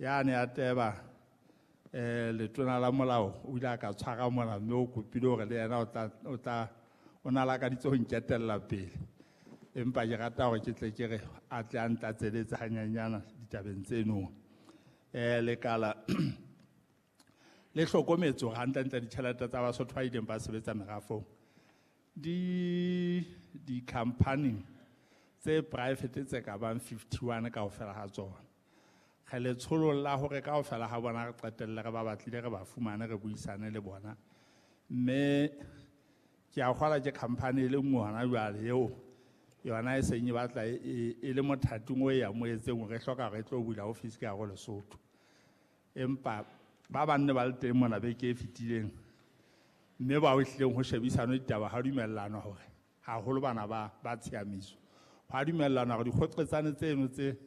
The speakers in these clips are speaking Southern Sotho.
Yane ya teba letona la molao o ile a ka tshwara mona mme o kopile hore le yena o tla o na lakaditse ho nketella pele. Empa ke rata hore ke tle ke re a tle a ntlatseletse hanyenyana ditabeng tseno. Lekala le hlokometse hore hantlentle ditjhelete tsa Basotho ba ileng ba sebetsa merafong di di-company tse private tse ka bang 51 kaofela ha tsona. Re letsholong la hore kaofela ha bona re qetelle re ba batlile re ba fumane re buisane le bona. Mme ke a kgolwa ke company e le nngwe hona jwale eo yona e seng e batla e le mothating o e amohetseng hore e hloka hore e tlo bula office ka hare ho Lesotho. Empa ba bang ne ba le teng mona beke e fetileng mme bao ehlileng ho shebisanwe ditaba ha dumellanwa hore haholo bana ba tshiamiso. Ha dumellanwa hore dikgoqetsane tseno tse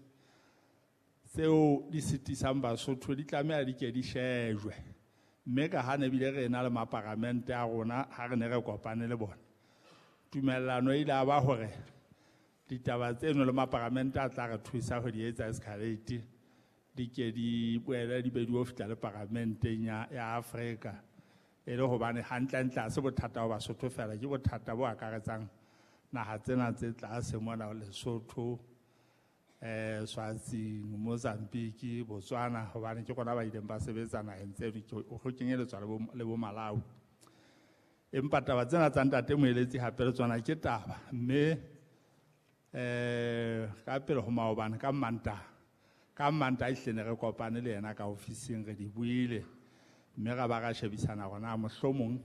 tseo di sitisang Basotho di tlameha di ke di shejwe. Mme ka ha ne bile re ena le maparamente a rona ha re ne re kopane le bona, tumellano e ile ya ba hore ditaba tseno le maparamente a tla re thusa ho di etsa escalate di ke di boele di be di o fihla le paramenteng ya Afrika. E le hobane hantlentle ha se bothata ba Basotho fela, ke bothata bo akaretsang naha tsena tse tlase mona Lesotho, Swaziland, Mozambique, Botswana, hobane ke rona ba ileng ba sebetsa naheng tseno, ho kenyeletswa le bo Malawi. Empa taba tsena tsa ntate Moeletsi hape le tsona ke taba, mme ka pele ho maobane ka Mantaha, ka Mantaha ehlile ne re kopane le yena ka ofising re di buile, mme ra ba ra shebisana hore na mohlomong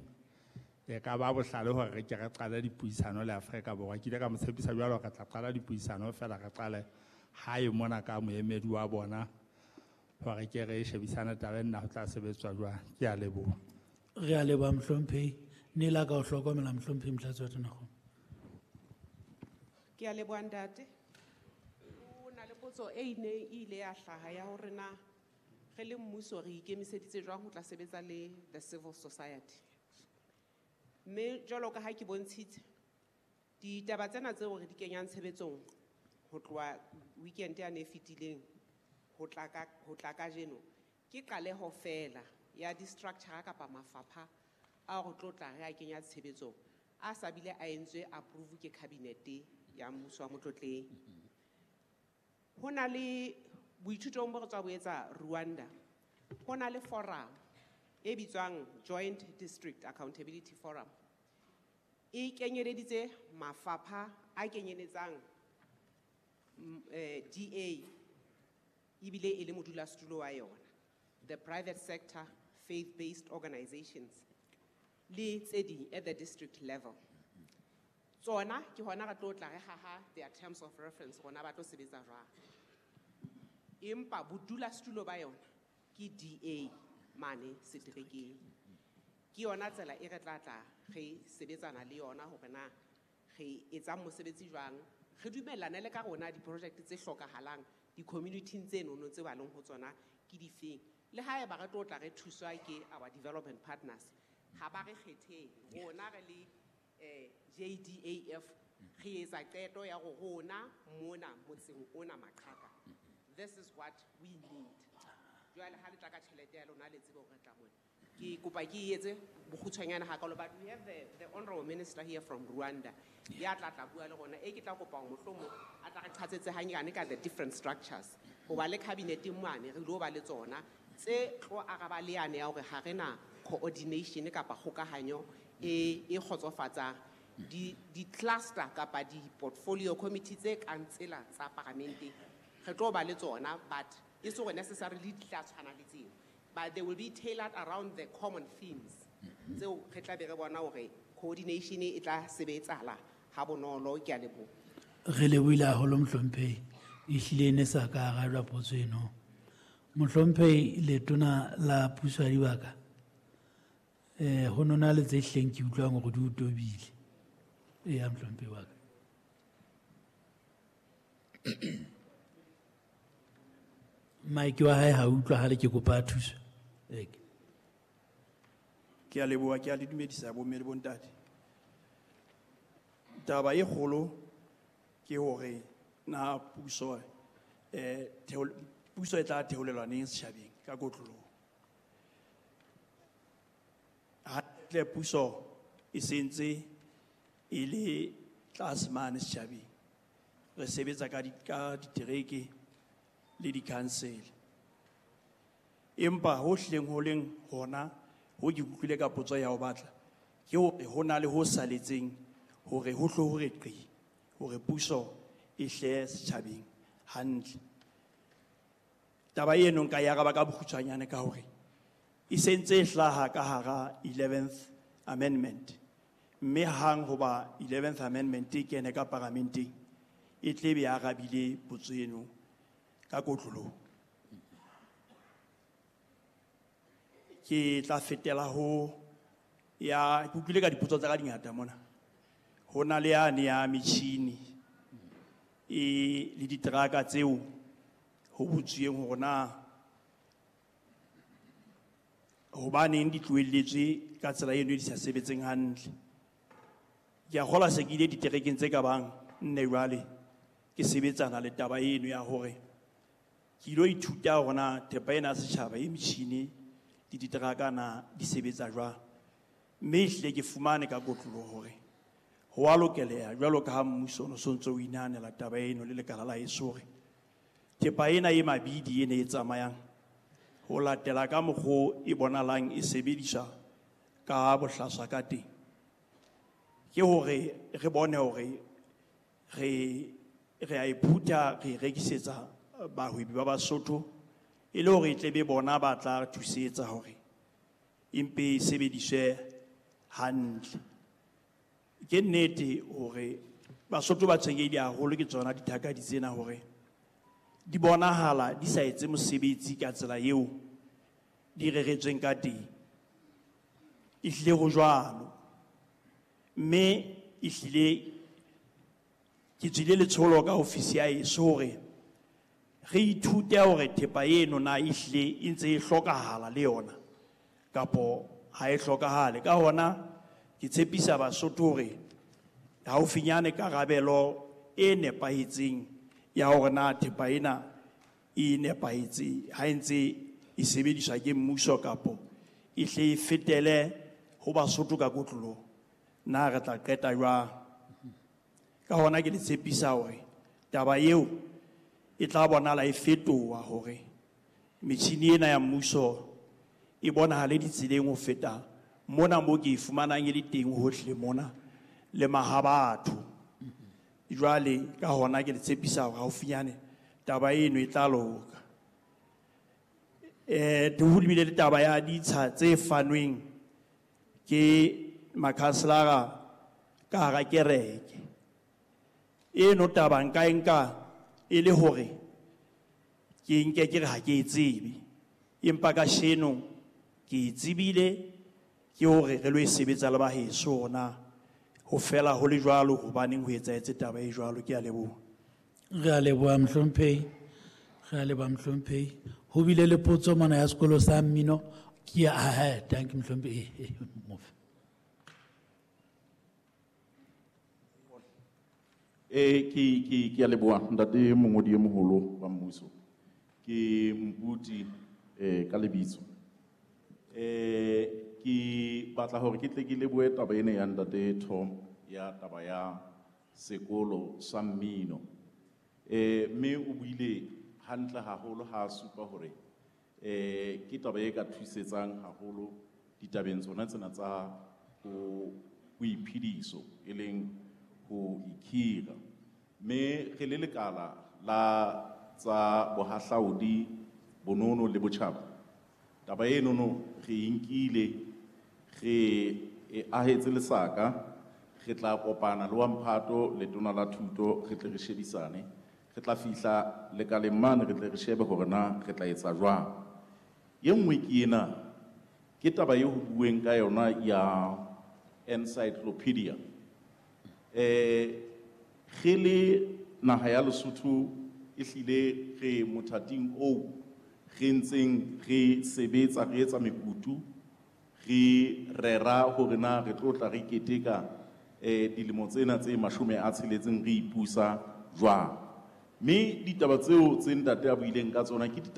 e ka ba bohlale hore re ke re qale dipuisano le Afrika Borwa. Ke ile ka mo tshepisa jwalo hore re tla qala dipuisano fela re qale hae mona ka moemedi wa bona hore ke re shebisane taba ena ho tla sebetswa jwang. Ke a leboha. Re a leboha mohlomphehi. Ne la ka o hlokomela mohlomphehi Motlatsi wa Tonakgolo. Ke a leboha ntate. Ho na le potso e ne e ile ya hlaha ya hore na re le mmuso re ikemiseditse jwang ho tla sebetsa le the civil society. Mme jwalo ka ha ke bontshitse, ditaba tsena tseo re di kenyang tshebetsong ho tloha weekend yane e fetileng ho tla kajeno, ke qaleho fela ya di-structure kapa mafapha a re tlo tla re a kenya tshebetsong a sa bile a entswe approve ke cabinet ya mmuso wa Motlotleng. Ho na le boithutong bo re tswa bo etsa Rwanda, ho na le forum e bitswang Joint District Accountability Forum. E kenyeleditse mafapha a kenyeletsang DA ebile e le modulasetulo wa yona, the private sector, faith-based organizations le tse ding at the district level. Tsona ke hona re tlo tla re haha their terms of reference rona ba tlo sebetsa jwang. Empa bodulasetulo ba yona ke DA mane seterekeng. Ke yona tsela e re tla tla re sebetsana le yona hore na re etsang mosebetsi jwang, re dumellane le ka rona di-project tse hlokahalang di-community-ing tse nono tse ba leng ho tsona ke difeng. Le haeba re tlo tla re thuswa ke our development partners, ha ba re kgetheng rona re le JDAF re etsa qeto ya hore rona mona motseng ona Maqhaka, this is what we need. Jwale ha le tla ka tjhelete ya lona le tsebe hore re tla mona. Ke kopa ke e etse bokgutshwanyane hakalo, but we have the honorable minister here from Rwanda. Ya tla tla bua le rona, e ke tla kopa hore mohlomong a tla re qhatsetse hanyane ka the different structures. Hoba le cabinet mane re ilo ba le tsona tse tlo araba le yane ya hore ha re na coordination kapa kgokahanyo e kgotsofatsang. Di cluster kapa di portfolio committee tse kang tsela tsa parlamente re tlo ba le tsona, but e se hore necessarily di tla tshwana le tseo, but they will be tailored around the common themes tseo re tla be re bona hore coordination e tla sebetsahala ha bonolo. Ke a leboha. Re lebohile haholo mohlomphehi, ehlile ne sa ka arabjwa potso eno. Mohlomphehi letona la puso ya dibaka, ho nona le tse hleng ke utlwang hore di o tobile. Eya mohlomphehi wa ka. Mike wa hae ha utlwahale, ke kopa thuso. Eke. Ke a leboha, ke a le dumedisa bomme le bontate. Taba e kgolo ke hore na puso Puso e tla theolelwa neng setjhabeng ka kotloloho? Hantle puso e sentse e le tlase mane setjhabeng. Re sebetsa ka ka ditereke le di-council. Empa ho hlileng ho leng hona ho ke utlwile ka potso ya ho batla ke hore ho na le ho saletseng hore ho hlo hore qi hore puso e hle setjhabeng hantle. Taba eno nka e araba ka bokgutshwanyane ka hore e sentse e hlaha ka hara 11th Amendment, mme hang hoba 11th Amendment e kene ka paramenteng e tle be arabile potso eno ka kotloloho. Ke tla fetela ho ya ke utlwile ka dipotso tsa ka di ngata mona. Ho na le yane ya metjhini e le diteraka tseo ho botsweng hore na hobaneng di tlohelletswe ka tsela eno e di sa sebetseng hantle. Ke a kgolwa se ke ile diterekeng tse ka bang nne jwale ke sebetsana le taba eno ya hore ke ilo ithuta hore na thepa ena ya setjhaba e metjhini le diteraka na di sebetsa jwang. Mme ehlile ke fumane ka kotloloho hore ho a lokeleha jwalo ka ha mmuso o no sontso o inahanela taba eno le lekala la heso hore thepa ena e mabidi ena e tsamayang ho latela ka mokgo e bonahalang e sebediswa ka bohlaswa ka teng, ke hore re bone hore re a e phutha, re e rekisetsa bahwebi ba Basotho e le hore e tle be bona ba tla thusetsa hore empe e sebediswe hantle. Ke nnete hore Basotho ba tshwenyehile haholo ke tsona dithakadi tsena hore di bonahala di sa etse mosebetsi ka tsela eo di reretsweng ka teng. Ehlile ho jwalo, mme ehlile ke tswile letsholo ka ofisi ya heso hore re ithute hore thepa eno na ehlile e ntse e hlokahala le yona kapo ha e hlokahale. Ka hona ke tshepisa Basotho hore haufinyane karabelo e nepahetseng ya hore na thepa ena e nepahetse ha e ntse e sebediswa ke mmuso kapo e hle e fetele ho Basotho ka kotloloho, na re tla qeta jwang. Ka hona ke le tshepisa hore taba eo e tla bonahala e fetoha hore metjhini ena ya mmuso e bonahale ditseleng ho feta mona mo ke e fumanang e le teng hohle mona le mahabatho. Jwale ka hona ke le tshepisa hore haufinyane taba eno e tla loka. Ho bile le taba ya ditsha tse fanweng ke makhanselara ka hara kereke. Eno taba nka e nka e le hore ke nke ke re ha ke e tsebe, empa kasheno ke e tsebile ke hore re lo e sebetsa le ba heso hore na ho fela ho le jwalo hobaneng ho etsahetse taba e jwalo. Ke a leboha. Re a leboha mohlomphehi, re a leboha mohlomphehi. Ho bile le potso mona ya sekolo sa mmino. Ke ya, ha, ha, thank you mohlomphehi. Mofe. Ke a leboha ntate mongodi e moholo wa mmuso. Ke Mputi ka lebitso. Ke batla hore ke tle ke lebohe taba ena ya ntate Tom ya taba ya sekolo sa mmino. Mme o buile hantle haholo ha a supa hore ke taba e ka thusetsang haholo ditabeng tsona tsena tsa ho boiphediso e leng ho ikhira. Mme re le lekala la tsa bohahlaudi, bonono le botjhaba, taba enono re e nkile, re e ahetse lesaka, re tla kopana le wa mphato letona la thuto, re tle re shebisane, re tla fihla lekaleng mane, re tle re shebe hore na re tla etsa jwang. E nngwe ke ena, ke taba e ho bueng ka yona ya encyclopedia. Re le naha ya Lesotho ehlile re mothating oo re ntseng re sebetsa, re etsa mekutu, re rera hore na re tlo tla re keteka dilemo tsena tse 60 re ipusa jwang. Mme ditaba tseo tse ntate a buileng ka tsona ke ditaba